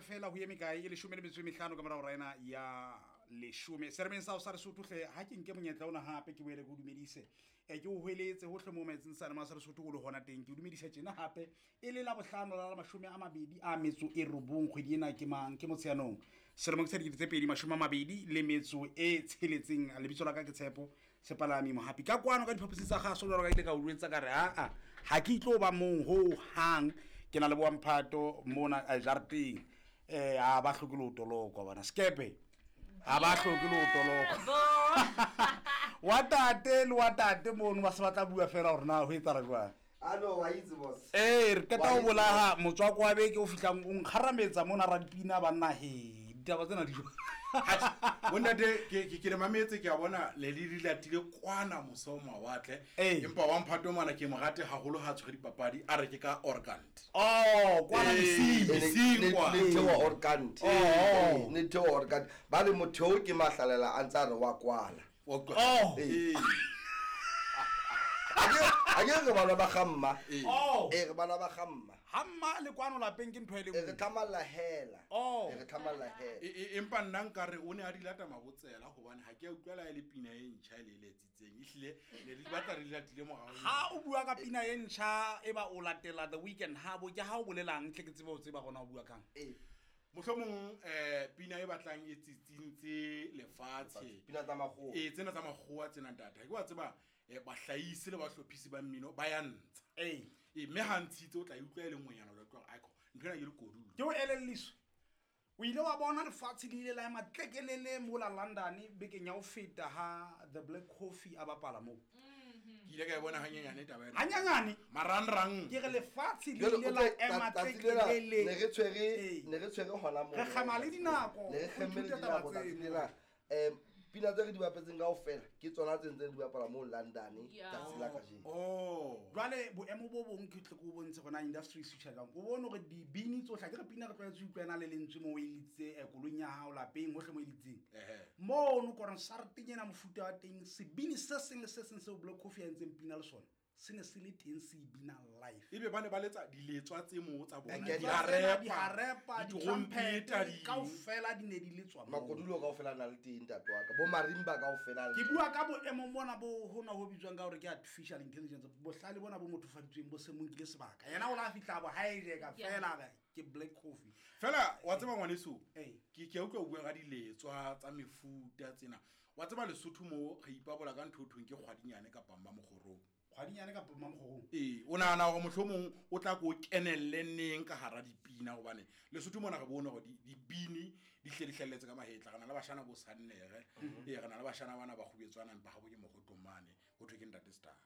fela ho eme kae e 15 ka mora hora ena ya 10 seremeng sa ho sa Lesotho hle ha ke nke monyetla ona hape ke boele ke o dumedise ke o hweletse hohle mo maetseng sa lema sa Lesotho o le hona teng ke o dumedisa tjena hape e le la bohlano la 29 kgwedi ena ke mang ke Motsheanong selemong sa 2026 lebitso la ka ke Tshepo Sepalami Mohapi ka kwano ka diphaposing tsa gaso jwalo ka ile ka o jwetsa ka re aa ha ke itlo ba mong ho hang ke na le bo Mphato mona jarateng a ba hloke le ho tolokwa bana skepe a ba hloke le ho tolokwa wa tate le wa tate mono ba se ba tla bua fela gore na ho etsala jwang. Ano wa itse boss. Re qeta ho bolaha motswako wa beke o fihlang o nkgarametsa mona radipina banna he ditaba tsena di jwang. Bontate ke le mametse ke a bona le le di latile kwana mose o mawatle empa wa Mphato mona ke mo rate haholo ha tshwere dipapadi a re ke ka organt. Oh kwana mesing kwa ne thewa organt. Ne thewa organt ba le motho ke mahlalela a ntsa re wa kwala. Oh a ke re bana ba gamma re bana ba gamma hamma le kwano lapeng ke ntho e le re tlamalla hela re tlamalla hela empa nna nka re o ne a di lata mabotsela hobane ha ke a utlwela e le pina e ntjha e le letsitseng ehlile ne di batla re latile morao ha o bua ka pina e ntjha e ba o latela The Weeknd ha bo ke ha o bolelang tle ke tsebe o tseba gona o bua kang mohlomong pina e batlang e tsitsintse lefatshe pina tsa makgowa tsena tsa makgowa tsena ntata ke wa tseba bahlaisi le bahlophisi ba mmino ba ya ntsha mme ha ntshitse o tla utlwa e le nngwenyana o tla utlwa aiko ntho ena ke lekodulo ke o elelliswe o ile wa bona lefatshe le ile la ema tlekelele mola London bekeng ya ho feta ha The Black Coffee a bapala moo. Ke ile ka e bona hanyenyane taba ena hanyenyane marangrang ke re lefatshe le ile la ema tlekelele ne re tshwere hona moo re kgama le dinako ne re kgemme le dinako tsatsi lena pina tse re di bapetseng kaofela ke tsona tse ntseng di bapala mo London tsatsi la kajeno. Jwale boemo bo bong ke tle ke o bontshe gona industry switch jang o bone hore dibini tsohle ke re pina re tlwaetse ho utlwa ena le lentswe mo o e litse koloing ya hao lapeng hohle mo e litseng mono konsarteng ena mofuta wa teng sebini se seng le se seng seo Black Coffee a entseng pina le sona se ne se le teng se bina live ebe ba ne ba letsa diletswa tse mo tsa bona diharepa ditrumpete kaofela di ne di letswa makodulo kaofela na le teng ntate wa ka bo marimba kaofela ke bua ka boemo mona bo hona ho bitswang ka hore ke artificial intelligence bohlale bona bo mothofaditsweng bo se mo nkile sebaka yena o la fihla bo hijack fela ke Black Coffee fela wa tseba ngwaneso ke ke utlwa o bua ka diletswa tsa mefuta tsena wa tseba Lesotho mo re ipabola ka ntho thweng ke kgwadinyane kapa mmamokgorong kgwadinyane kapa mmamokgorong o nahana hore mohlomong o tla ko kenelle neng ka hara dipina hobane Lesotho mona re bone hore dibini di hle di hlelletse ka mahetla re na le bashana bo Sannere re na le bashana bana ba kgubetswana empa ha bo ke mogotong mane ho thwe ke ntate Star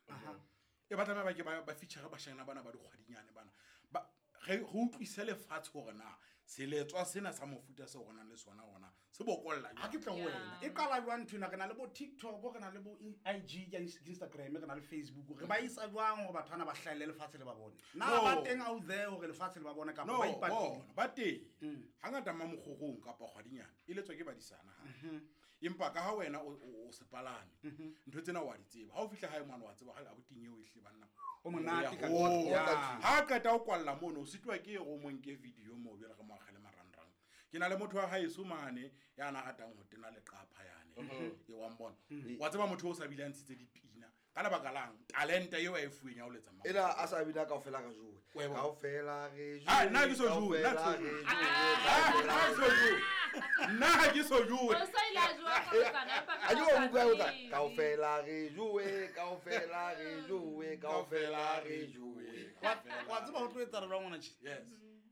e ba tlameha ba ke ba feature bashana bana ba dikgwadinyane bana ba re utlwise lefatshe hore na seletswa sena sa mofuta se rona le sona hona se bokolla ha ke tla ho wena e qala jwang ntho ena re na le bo TikTok re na le bo IG Instagram re na le Facebook re ba isa jwang hore batho bana ba hlahelle lefatshe le ba bone na ba teng out there hore lefatshe le ba bone kapa ba ipatile ba teng hangata mmamokgorong kapa kgwadinyane e letswa ke badisana ha empa ka ha wena o sepalame ntho tsena wa di tseba ha o fihla hae mwana wa tseba ha abuting eo e hle banna o monate ka ha qeta o kwalla mono o sitwa ke go monke video mo bjale re mo agele marangrang ke na le motho wa haeso mane ya na ratang ho tena leqapha yane e wa mbona wa tseba motho o sa bile a ntshitse dipina ka lebaka lang talenta eo a e fuweng ya ho letsa mama ena a sa bina kaofela re jowe kaofela re jowe nna ke so jowe nna ha ke so jowe o sa ile a jowa ka botsana empa a jowe utlwa kaofela re jowe kaofela re jowe kaofela re jowe wa tseba ho tlo etsa re jwang ngwana tje yes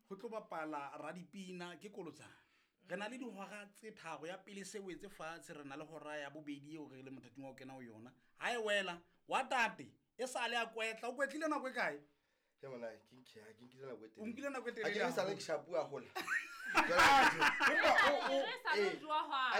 ho tlo bapala radipina ke kolotsana re na le dihora tse tharo ya pele se wetse fatshe re na le hora ya bobedi eo re le mothating wa ho kena ho yona ha e wela wa tate e sale a kwetla o kwetlile nako e kae ke mona ke nkile nako e telele o nkile nako e telele a ke sale ke shapua hola empa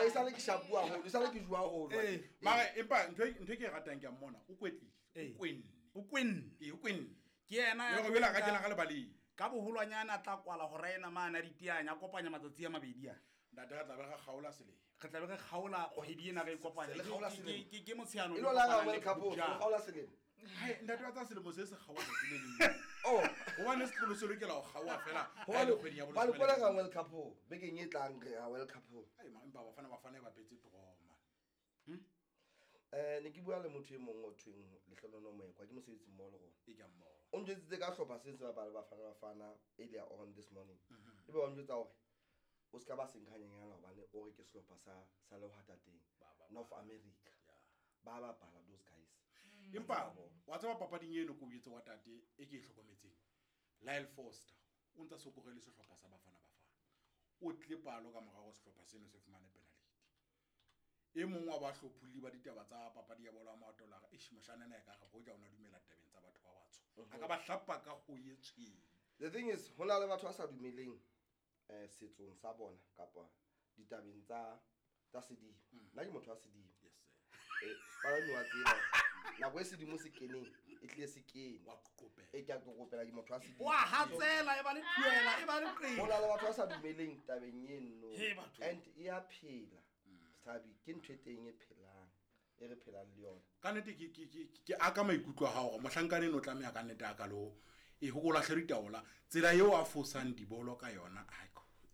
o sale ke shapua hola sale ke jua hola mara empa ntho e ke e ratang ke a mmona o kwetlile o kwenne o kwenne o kwenne ke yena ya go bela ka kena ka lebaleng ka boholwanyana a tla kwala hora ena mane a diteanya a kopanya matsatsi a mabedi a ntate re tla be re kgaola selemo re tla be re kgaola kgwedi ena re e kopanya ke Motsheanong e lo la World Cup o kgaola selemo ntate wa tsa selemo se se kgaola tsatsi le leng oh Gobane setlolo se lokela go kgaoa fela ha e le kgweding ya Hobane boleshome kwana le ka metso. World Cup o, bekeng e tlang re ya World Cup o. Ai, empa Bafana Bafana e bapetse trauma. Ne ke bua le motho e mong o thweng Lehlonono Moekwa, ke mosebetsi mmoho le rona. E ke a mmona. O njwetsitse ka hlopha se se bapala Bafana Bafana earlier on this morning. Ebe wa njwetsa hore o ska ba senkanyenyana hobane o re ke sehlopha sa lehwatateng, North America. Ba bapala those guys. Empa wa tseba papading eno ko boetse wa tate e ke e hlokometseng, Lyle Foster o ntsa sokorele sehlopha sa Bafana Bafana, o tle palo ka morao sehlopha seno se fumane penalty. E mong wa bahlopholli ba ditaba tsa papadi ya bolo ya maoto la re, eish, moshana ena e ka re hoja o na dumela tabeng tsa batho ba batsho, a ka ba hlapa ka ho ye tshweu. The thing is, ho na le batho ba sa dumeleng setsong sa bona kapa ditabeng tsa sedimo. Nna ke motho wa sedimo. Yes, sir. Palami wa tseba nako e sedimo se keneng, e tlile se kene. Wa qoqopela. E ke a qoqopela, ke motho wa sedimo. Wa hatsela, e ba le thuela, e ba le qeto. Ho na le batho ba sa dumeleng tabeng eno. He, batho. And e a phela. Thabi, ke ntho e teng e phelang, e re phelang le yona. Ka nnete ke aka maikutlo a hao hore mohlankana eno o tlameha ka nnete a ka lo e ho ko lahle ditaola, tsela eo a fosang dibolo ka yona, ai,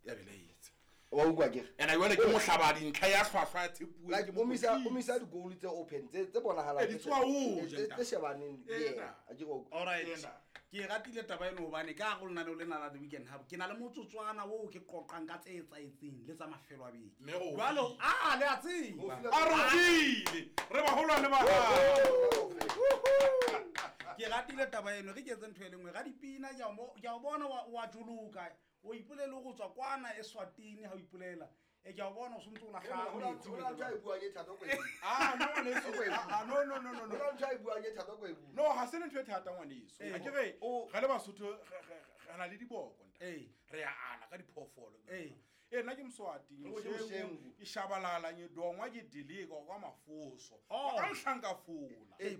ya belaetse. Wa utlwa ke re? Ena jwale ke mohlaba dintlha ya hlwahlwa ya tshepuwe, Like, ke o misa di-goal tse open, tse bonahalang, Eh, di tswa ho ja, tse shebaneng le Eh, yena. ntate. A ke re o- All right. Ena. Ke ratile taba eno hobane ka hare ho lenaneo lena la The Weekend Hub, ke na le motsotswana oo ke qoqang ka tse etsahetseng le tsa mafelo a beke. Mme re o Jwale, file. le a tseba. O file- A re o file. Re baholwane ba hao. Ke ratile taba eno, re ke etse ntho e le nngwe. Ra dipina, ke a ke a o bona wa joloka. O ipolele go tswa kwana Eswatini ha o ipolela. E ke a o bona o sontse o lahla Ho na metsi ho na ntho a e buang e thata ko e bua. Ah, no, ngwaneso. Ah, no, no, no, no, Ho no. na ntho a e buang e thata ko e bua. No, ha se le ntho e thata, ngwaneso. Eh. Ha ke re, O- re le Basotho, re na le diboko, ntate. Eh. Re a ana ka diphoofolo. Eh. Eh, nna ke Moswati, O ke Moshengu. ke shabalala, ngidongwa, ke dilika kwa mafoso. Oh. Ka mohlanka fola. Eh,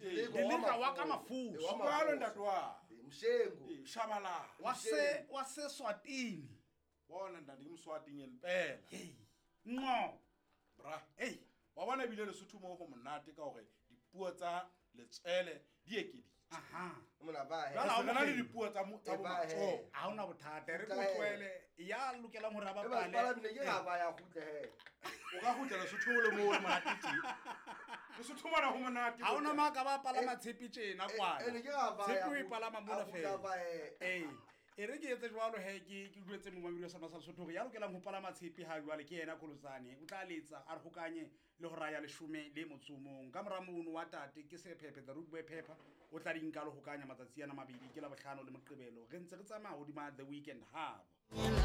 Eh, Dilika wa ka mafoso. Eh, wa Jwalo, mafoso. ntate wa. Eh, Moshengu. Eh, shabalala. Wa se Swatini. Bona, ntate, ke Moswati ngempela. Hey. Nqo. Bra. Hey. Wa bona ebile Lesotho moo ho monate ka hore dipuo tsa letswele di ekeditswe. Aha. Mona ba he. Jwale ha Re na le o dipuo tsa tsa Eh, bo ba he. matsoho. Ha hona bothata, re Kgutla ko he. tlohele ya lokelang hore a Eh, ba bapale. palame ke ga ba ya kgutle he. O ka kgutla Lesotho o le moo o le monate teng. Lesotho mona ho monate. Ha hona mang a ka ba palama tshepe tjena kwana. Eh, ne ke ga ba ya Tshepe o e kgutla- palama mona a kgutla fela. ba he. Ee, e re ke etse jwalo he, ke jwetse momamedi wa sona sa Lesotho hore ya lokelang ho palama tshepe ha jwale ke yena Kolotsane. O tla letsa a re hokanye le hora ya 11. Ka mora mono wa tate ke Sephephe, the Rude Boy Pepper, o tla di nka le hokanya matsatsi ana mabedi, ke Labohlano le Moqebelo. Re ntse re tsamaya hodima The Weekend Hub.